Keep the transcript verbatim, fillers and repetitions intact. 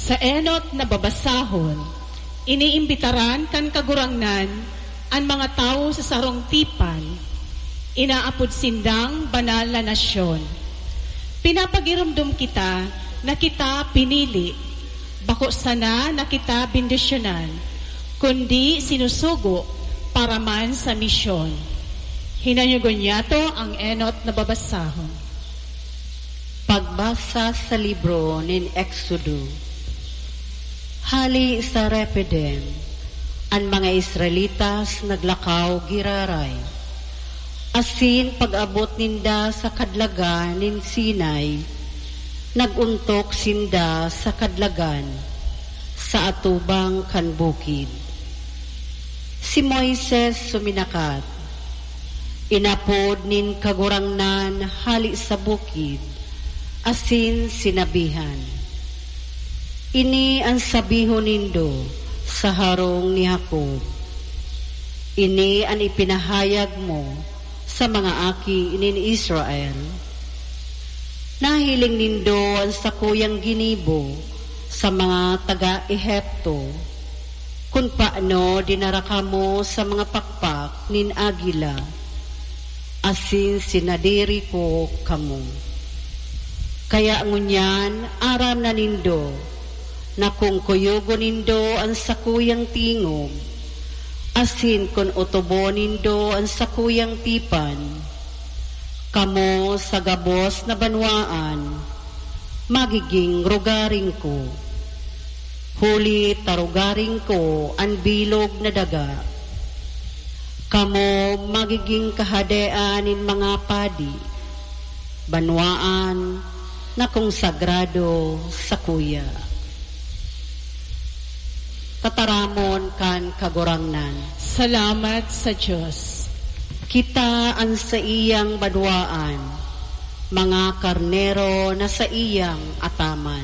Sa enot na babasahon, iniimbitaran kan Kagurangnan an mga tawo sa sarong tipan. Inaapod sindang banal na nasyon. Pinapagiromdom kita na kita pinili, bako sana na kita bendisyonan, kundi sinusugo para man sa misyon. Hinanyogon niyato ang enot na babasahon. Pagbasa sa libro nin Exodo. Hali sa Rephidim, an mga Israelitas naglakaw giraray, asin pag-abot ninda sa kadlagan nin Sinai, nag-ontok sinda sa kadlagan, sa atubang kan bukid. Si Moises suminakat, inapod nin Kagurangnan hali sa bukid, asin sinabihan, "Ini an sabihon nindo sa harong ni Jacob. Ini an ipinahayag mo sa mga aki nin Israel. Nahiling nindo an sakuyang ginibo sa mga taga-Egipto, kun paano dinara kamo sa mga pakpak nin agila, asin sinadiri ko kamo. Kaya ngunyan aram na nindo na kun kuyogon nindo an sakuyang tingog, asin kun otobon nindo an sakuyang tipan, kamo sa gabos na banwaan magiging rogaring ko, huli ta rogaring ko an bilog na daga. Kamo magiging kahadean nin mga padi, banwaan na konsagrado sakuya." Tataramon kan Kagurangnan. Salamat sa Dios. Kita an saiyang banwaan, mga karnero na saiyang ataman.